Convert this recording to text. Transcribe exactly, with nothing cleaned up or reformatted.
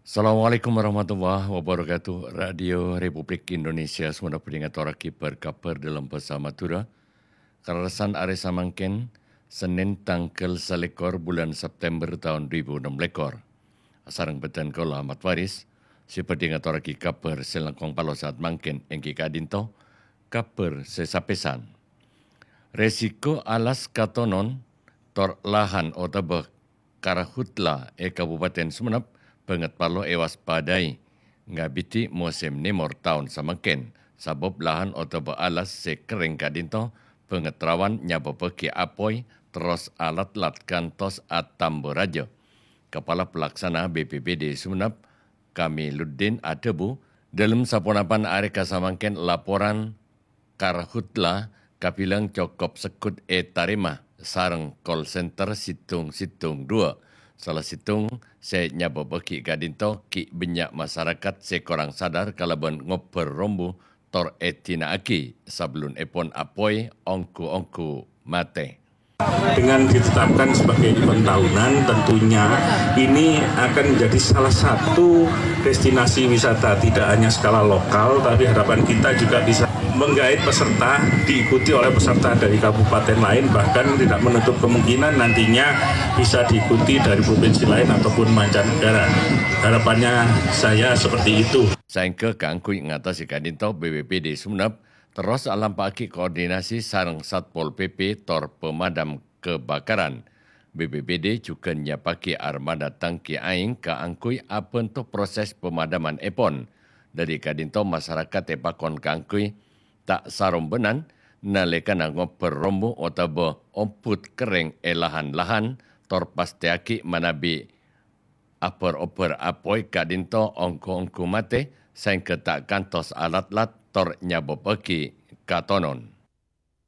Assalamualaikum warahmatullahi wabarakatuh. Radio Republik Indonesia Sumenep bhâdhi ngatorraghi bâr-kabhâr dâlem bhâsa Madhurâ. Kalerressan arè samangkèn, Sennèn tangghâl salèkor bulân September taon du èbu ennem lèkor. Asareng bhâdhân kaulâ Ahmad Faris, sè bhâdhi ngatorraghi kabhâr sè langkong palosaat mangkèn èngghi ka'dinto, kabhâr sè sapèsan. Resiko alas katonon, tor lahan otabâ karhutla è Kabupaten Sumenep bângèt parlo èwaspadai ngabidhi mosèm nèmor taon samangkèn, sabâb lahan otabâ alas sè kerrèng ka'dinto bângèt rawan nyabâbbhâghi apoy terros alatlat kantos atamba rajâ. Kapala Pelaksana B P B D Sumenep, Kamiluddin adhâbu, dâlem saponapan arè ka samangkèn laporan karhutla kabhilâng cokop segghut ètarèma sareng call center sèttong sèttong dua, sala sèttong sè nyabâbbhâghi ka'dinto ghi' bânnya' masarakat sè korang sadar kalabân ngobbhâr rombu tor èdina'aghi sabellunèpon apoy ongghu-ongghu matè. Dengan ditetapkan sebagai event tahunan, tentunya ini akan menjadi salah satu destinasi wisata, tidak hanya skala lokal, tapi harapan kita juga bisa menggait peserta, diikuti oleh peserta dari kabupaten lain, bahkan tidak menutup kemungkinan nantinya bisa diikuti dari provinsi lain ataupun mancanegara. Harapannya saya seperti itu. Saèngghâ kaangghuy ngatasè ka'dinto, B P B D Sumenep terros alampa'aghi koordinasi sareng Satpol P P tor pemadam kebakaran. B P B D jhughân nyiapaghi armada tangki aèng kaangghuy abhânto proses pemadamanèpon. Dâri ka'dinto masarakat èpakon kaangghuy ta' sarombhânan nalèkana ngobbhâr rombu otabâ ombhut kerrèng è lahan-lahan, tor pastèyaghi manabi abhâr-obbhâr apoy ka'dinto ongghu-ongghu matè saèngghâ ta' kantos alatlat tor nyabâbbhâghi katonon.